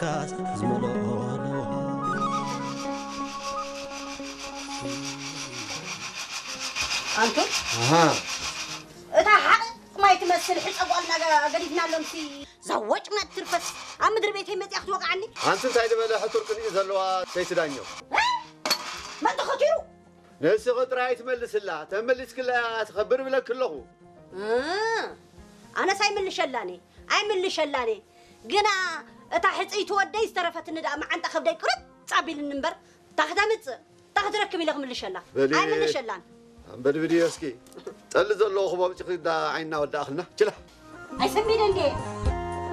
ካስ ዝመልኦ ኣለዋ። ኣንቱም ኣሃ እታ ሓቕቕ ማይ ትመስል ሕፀ ጓልና ገዲፍናሎምሲ። ዛወጭ መትርፈስ ኣብ ምድሪ ቤተይ መፅያ ክትወቕዓኒ። ኣንቲ እንታይ ዝበለ ሕቱር ቅንኢ ዘለዋ ሰይቲ ዳኘው። መን ተኸቲሩ? ንስኺ ጥራይ ትመልስላ፣ ተመሊስክላ ትኸብር ብለኪ ኣለኹ። ኣነስ ኣይምልሸላኒ ኣይምልሸላኒ። ግና እታ ሕፅይቲ ወደይ ዝተረፈትኒ ደኣ መዓንጣ ከብደይ ቅርፅ ኣቢልኒ እምበር፣ እታ ክተምፅእ እታ ክትረክብ ኢለ ክምልሸላ። በሊ ኣይምልሸላን። ኣንበድብድዮ እስኪ። ጠሊ ዘለዎ ክቦ ብጭኺ ዳ ዓይንና ወዳእኽልና። ችላ። ኣይሰሚደ እንዴ?